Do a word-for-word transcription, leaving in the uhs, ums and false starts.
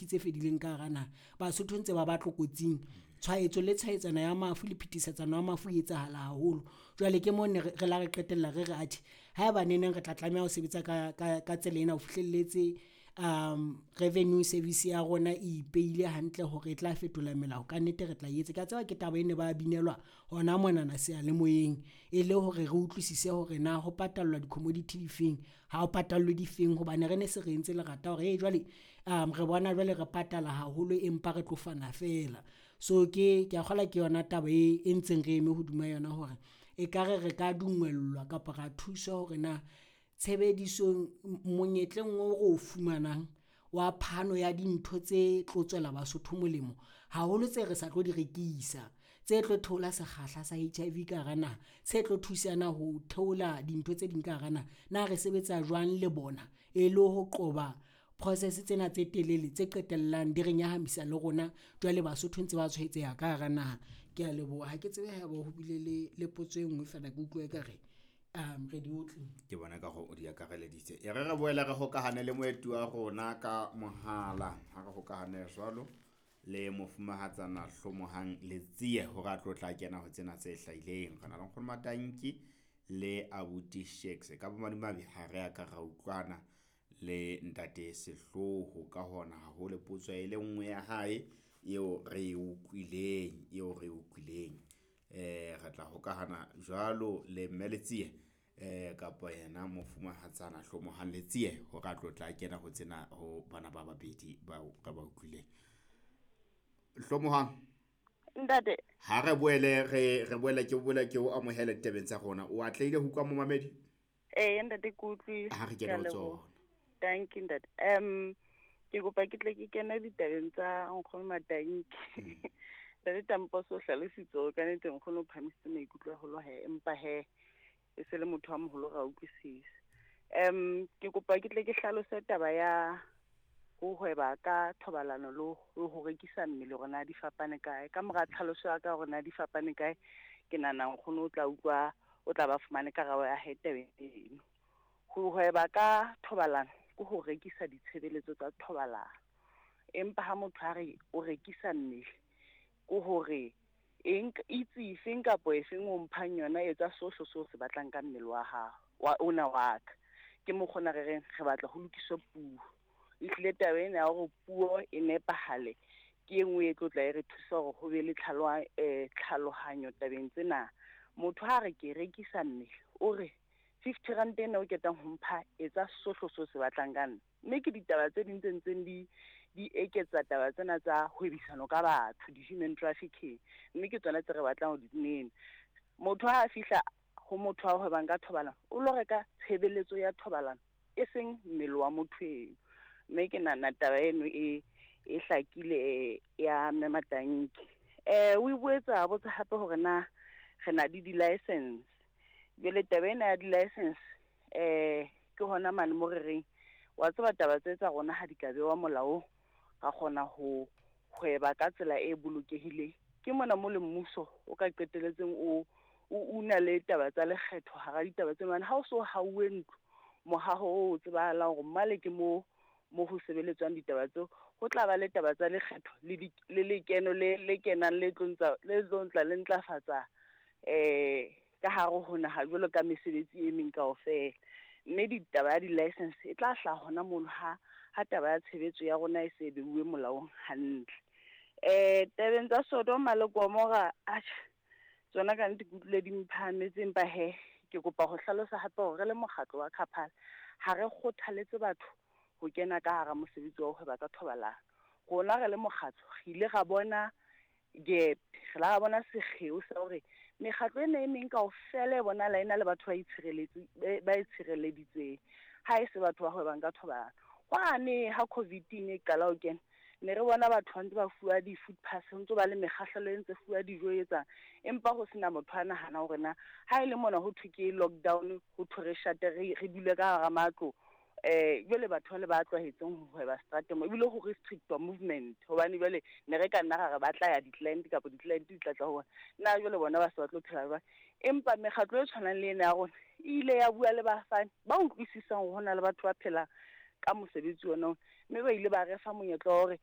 di-commodity tse fedileng ka hara naha. Basotho ntse ba ba tlokotsing, tshwaetso le tshwaetsano ya mafu le phetisetsano ya mafu e etsahala haholo. Jwale ke mo ne re la re qetella re re atjhe, haeba neneng re tla tlameha ho sebetsa ka ka ka tsela ena ho fihlelletse revenue service ya rona e ipehile hantle hore e tla fetola melao, kannete re tla etsa. Ke a tseba ke taba e ne ba binelwa hona monana seyalemoyeng e le hore re utlwisise hore na ho patallwa di-commodity difeng, ha ho patallwe difeng hobane re ne se re entse lerata hore jwale re bona jwale re patala haholo, empa re tlo fana feela. So ke, ke a kgolwa ke yona taba e ntseng re eme hodima yona hore ekare re ka dumellwa kapa ra thuswa hore na tshebedisong monyetleng oo re o fumanang wa phano ya dintho tse tlo tswela Basotho molemo haholo tse re sa tlo di rekisa, tse tlo theola sekgahla sa H I V ka hara naha, tse tlo thusana ho theola dintho tse ding ka hara naha. Na re sebetsa jwang le bona e le ho qoba process tsena tse telele tse qetellang di re nyahamisa le rona jwale Basotho ntse ba tshwaetseha ka hara naha. Ke a leboha, ha ke tsebe haeba ho bile le le potso e nngwe feela ke utlwa ekare re di . Ke bona ekare o di akareleditse. E re re boele re hokahane le moeti wa rona ka mohala. Ha re hokahane jwalo le mofumahatsana Hlomohang Letsie hore a tlo tla kena ho tsena tse hlahileng. Re na le Nkgono Matanki le abuti Shakes. Ka bomadimabe ha re a ka ra utlwana le ntate Sehlooho ka hona ha ho le potso e le nngwe ya hae eo re e utlwileng, eo re e utlwileng. Eh re tla hokahana jwalo le Mme Letsie eh kapa yena mofumahatsana Hlomohang Letsie hore a tlo tla kena ho tsena ho bana ba babedi bao re ba utlwileng. Hlomohang. Ntate. Ha re boele re re boele ke boele ke o amohele ditabeng tsa rona. O atlehile ho utlwa momamedi? Ee ntate, ke utlwile. Ha re kene ho tsona. Thank you ntate. Um ke kopa ke tle ke kene ditabeng tsa Nkgono Matanki. Ntate Tamposo o hlalositse hore ka nnete nkgono o phahamisitse maikutlo haholo he, empa he e se le motho wa moholo ra utlwisisa. Um ke kopa ke tle ke hlalose taba ya ho hweba ka thobalano le ho rekisa mmele hore na di fapane kae. Ka mora tlhaloso ya ka hore na di fapane kae, ke nahana nkgono o tla utlwa, o tla ba fumane karabo ya hae tabeng eno. Ho hweba ka thobalano ke ho rekisa ditshebeletso tsa thobalano, empa ha motho a re o rekisa mmele ke hore eng itse efeng kapa efeng o mphang yona, etsa sohle seo se batlang ka mmele wa hao wa ona wa ka. Ke mokgwa ona re reng re batla ho lokiswe puo. Ehlile taba ena ya hore puo e nepahale ke e nngwe e tlo tla e re thusa hore ho be le eh tlhalohanyo tabeng tsena. Motho ha re ke rekisa mmele, o re fifty rand ena o ketang ho mpha, etsa sohle seo se batlang ka nna. Mme ke ditaba tse ding tse ntseng di di eketsa taba tsena tsa hwebisano ka batho, di-human trafficking, mme ke tsona tse re batlang ho di nena. Motho ha a fihla ho motho a hwebang ka thobalano, o lo reka tshebeletso ya thobalano, e seng mmele wa motho eno. Mme ke nahana taba eno e e hlakile ya Mme Matanki. Eh o boetse a botsa hape hore na re na le di-license. Jwale taba ena ya di-license eh ke hona mane mo re reng wa tseba taba tse tsa rona ha di ka bewa molaong, ra kgona ho hweba ka tsela e bolokehileng. Ke mona mo le mmuso o ka qetelletseng o o una le taba tsa lekgetho hara ditaba tsena. Hobane ha o so hauwe ntlo, mohaho o tsebahalang hore male ke mo mo ho sebeletswang ditaba tseo, ho tla ba le taba tsa lekgetho le di, le lekeno le le kenang le tlo ntsa, le tlo ntla le ntlafatsa eh ka hare ho naha jwalo ka mesebetsi e meng kaofela. Mme ditaba ya di-license e tla hlaha hona mono ha, ha taba ya tshebetso ya rona e se beuwe molaong hantle. Eh tabeng tsa Sodoma le Gomora, atjhe tsona ka nnete ke utlwile di mphahametse, empa he ke kopa ho hlalosa hape hore re le mokgatlo wa Kgaphala ha re kgothaletse batho ho kena ka hara mosebetsi wa ho hweba ka thobalano. Rona re le mokgatlo re ile ra bona gap, re la bona sekgeo sa hore mekgatlo ena e meng kaofela e bonahala e na le batho ba itshireletse, ba itshireleditseng, ha e se batho ba hwebang ka thobalano. Hwane ha COVID e ne e qala ho kena, ne re bona batho ba ntse ba fuwa di-food pass, ho ntso ba le mekgahlelo e ntse fuwa dijo e etsang, empa ho sena motho a nahana hore na ha e le mona ho thwe ke lockdown, ho thwe re shate, re re dule ka hara matlo. Eh jwale batho ba le ba tlwaetseng ho hweba seterateng mo, ebile ho restrictwa movement, hobane jwale ne re ka nna ra re ba tla ya di-client kapa di-client di tla tla ho bona. Na jwale bona ba se ba tlo phela jwang? Empa mekgatlo e tshwanang le ena ya rona e ile ya bua le bafani ba utlwisisang hore hona le batho ba phelang ka mosebetsi ona, mme ba ile ba re fa monyetla wa hore